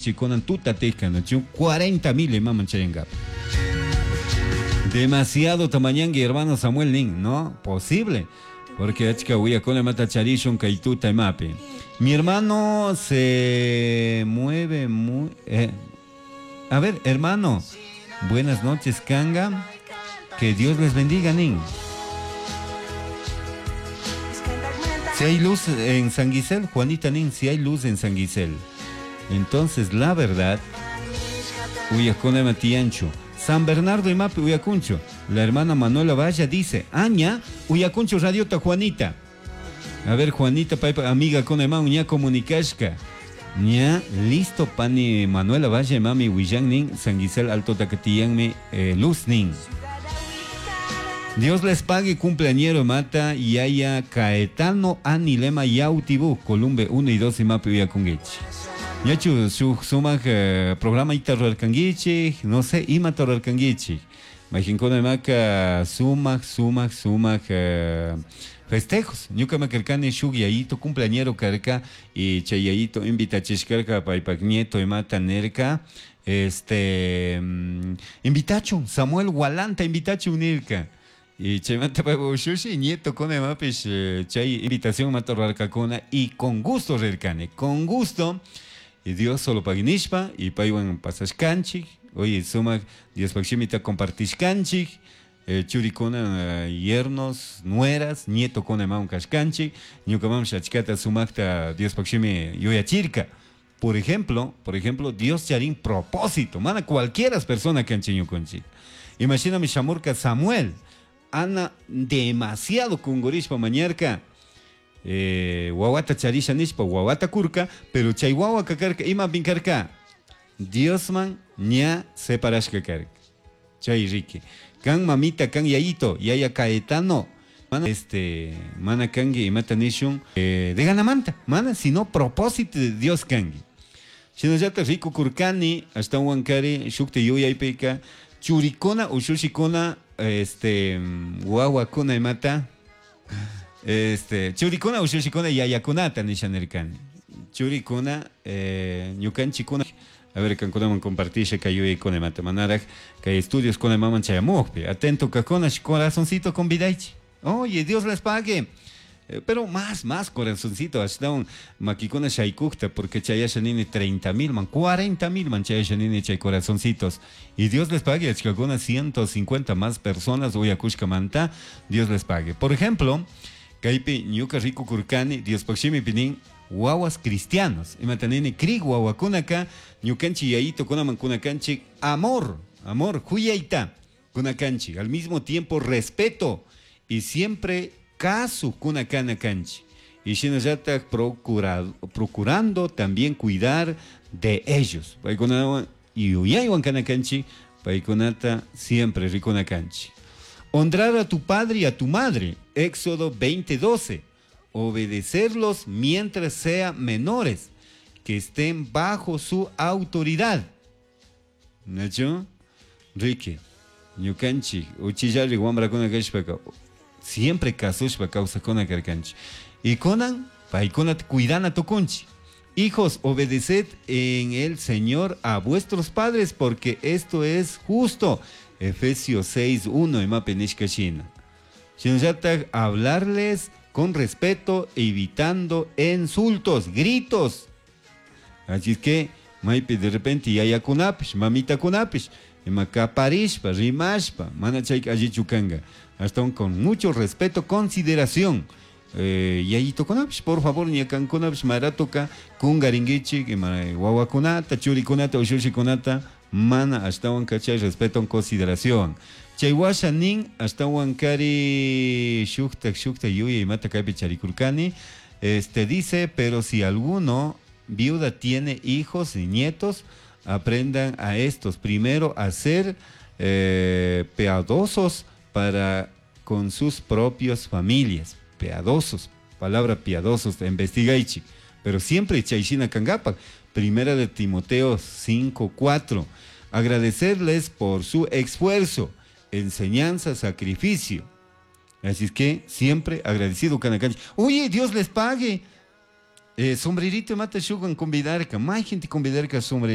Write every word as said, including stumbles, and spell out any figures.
Chikonan tuta tejka, cuarenta mil imaman chayangapa. Demasiado tamañangui, hermano Samuel Nin, ¿no? Posible. Porque achka uyakuna mata charishun kay tuta imapi. Mi hermano se mueve muy... Eh. A ver, hermano, buenas noches, Kanga. Que Dios les bendiga, Nin. Si hay luz en San Guisel, Juanita Nin, si hay luz en San Guisel. Entonces, la verdad, uyakuna matiancho. San Bernardo imapi uyakuncho. La hermana Manuela Valla dice, Aña, uyakuncho radiota Juanita. A ver, Juanita, paipa, amiga con ema uña comunicashka. Ña, listo, pani Manuela Valle, mami Huillán nin, San Guisel Alto Tacatiyanme, eh, luz nin. Dios les pague, cumpleañero mata, yaya Caetano Anilema Yautibu, Columbe uno y dos imapi uyakunguichi. Ñachu, su sumaj eh, programa itarrarkanguichi, no sé, ima tarrarkanguichi. Majinkuna maka sumaj, sumaj, sumaj eh, festejos. Ñuka makarkani shuk yayito cumpleañero karka y chay yayito invitachishkarka paypak nieto imata nerka. Este, mm, invitachu, Samuel Walanta invitachu nirka. Y chaymanta paypa ushushi nieto kuna imapish eh, chay invitación mata rarkakuna y con gusto rirkani, con gusto. Y Dios solo paginishpa y paywan pasashkanchik. Oye, sumak Dios pakshimita compartishkanchik. Eh, churikuna, eh, yernos, nueras, nieto kuna imawan kashkanchik. Ñuka mam shachkata sumakta Dios pakshimi yuyachirka. Por ejemplo, por ejemplo, Dios charin propósito. Mana cualquiera persona kanchik ñukunchik. Imagíname shamurka Samuel. Ana demasiado kungurishpa mañarka. Eh, wawata charisha nishpa wawata kurka, pero chay wawa kakarka ima pinkarka Diosman ña separashka karka. Chay riki kan mamita kan yayito yaya Caetano mana este mana kangi imata nishun eh, de ganamanta mana sino propósito de Dios kangi. Shinallata riku kurkani hasta wankari shukti yuyaypika churikuna ushushikuna este wawakuna imata este churikuna ushushikuna yayakunata nishanirkani churikuna eh, ñukanchikuna. A ver, kankunaman compartisha kay yuyaykuna imata manaraj kay estudios kuna imaman chayamukpi atento kakuna corazoncito convidaichi. Oye, Dios les pague. Eh, pero más, más corazoncito, hasta un makikuna shaykukta, porque chayasha nini treinta mil man, cuarenta mil man chayasha nini chay corazoncitos. Y Dios les pague, achkakuna ciento cincuenta más personas, uyakushka manta, Dios les pague. Por ejemplo, kaypi ñuka riku kurkani, Dios pakshimi pinin, wawas cristianos. Imatanini kri wawakunaka, ñukanchi yayito kunaman kunakanchi, amor, amor, huyaita kunakanchi. Al mismo tiempo respeto y siempre kasu kunakana kanchi. Y shinallata procura, procurando también cuidar de ellos. Paykunawan y uyaywan kanakanchi, paykunata siempre rikunakanchi. Honrar a tu padre y a tu madre, Éxodo veinte doce. Obedecerlos mientras sean menores, que estén bajo su autoridad. ¿Nacho? Ricky, ñukanchi, uchillari wambrakuna kashpaka, siempre kasushpa kawsakuna karkanchi. Y kunan, paykunata cuidana tukunchi. Hijos, obedeced en el Señor a vuestros padres, porque esto es justo. Efesios seis uno, imapi nishka shina. Shinallata hablarles con respeto, evitando insultos, gritos. Así es que, maypi de repente yayakunapish, mamita kunapish, imakaparishpa, rimashpa, mana chay allichu kanga. Hasta un con mucho respeto, consideración. Eh, yayito kunapish, por favor, ñakankunapish, maratoka, kungaringuichi, ima wawakunata, churikunata, ushushikunata, mana ashtawan kachay respeto, consideración. Chay washa nin ashtawan kari shukta shukta yuya imata kaypi charikurkani. Este dice, pero si alguno viuda tiene hijos y nietos, aprendan a estos primero a ser, eh, piadosos para con sus propias familias. Piadosos, palabra piadosos, investigaichi. Pero siempre chayshina kangapak. Primera de Timoteo cinco cuatro. Agradecerles por su esfuerzo, enseñanza, sacrificio. Así es que siempre agradecido Canacanchi. Oye, Dios les pague. Eh, sombrerito imata shukwan convidarka, mayjinti convidarka sombrerito.